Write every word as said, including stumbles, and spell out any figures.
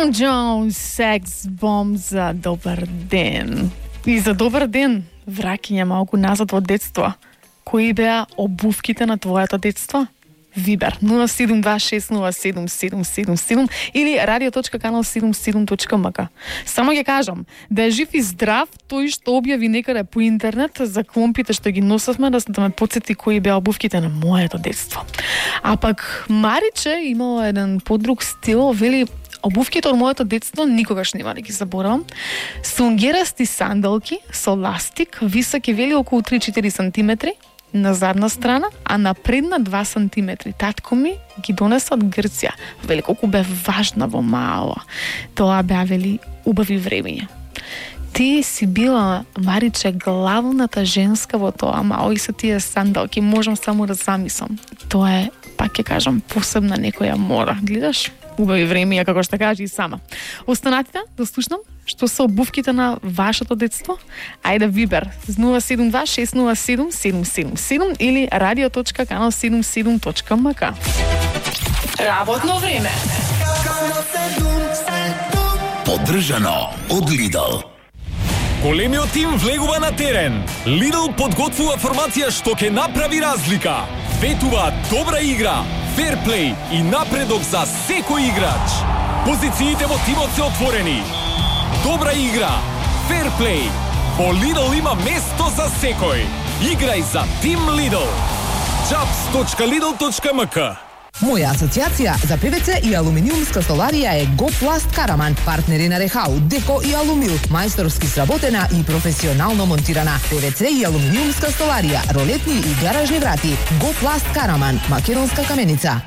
Tom Jones, Sex Bomb за добар ден. И за добар ден, враќање малку назад во детство. Кои беа обувките на твоето детство? Вибер нула седум два шест нула седум седум седум седум или radio.канал седумдесет и седум точка ем ка. Само ќе кажам, да е жив и здрав тој што објави некаде по интернет за кломпите што ги носевме, да, да ме потсети кои беа обувките на моето детство. А пак Мариче имало еден подруг стил, вели: обувките од моето детство никогаш нема да ги заборавам. Сунгерасти сандалки со ластик, високи, вели околу три-четири сантиметри на задна страна, а на предна два сантиметри. Татко ми ги донесе од Грција. Вели колку бе важна во мало. Тоа беа, вели, убави времења. Ти си била, Мариче, главната женска во тоа мало и со тие сандалки. Можам само да замислам. Тоа е, пак ќе кажам, посебна некоја мора. Гледаш? Убави времења, како што кажи и сама. Останатите да слушнам што се обувките на вашето детство. Ајде Вибер нула седум два шест нула седум седум седум седум или radio.канал седумдесет и седум точка ем ка. Работно време. Поддржано од Lidl. Големиот тим влегува на терен. Lidl подготвува формација што ќе направи разлика. Ветува добра игра, ферплей и напредок за секој играч. Позициите во тимот се отворени. Добра игра, ферплей. Во Lidl има место за секој. Играј за Тим Lidl. джабс точка лидл точка ем ка. Моја асоциација за ПВЦ и алуминиумска столарија е Гопласт Караман, партнери на Рехау, Деко и Алумил, мајсторски сработена и професионално монтирана. ПВЦ и алуминиумска столарија, ролетни и гаражни врати. Гопласт Караман, македонска каменица.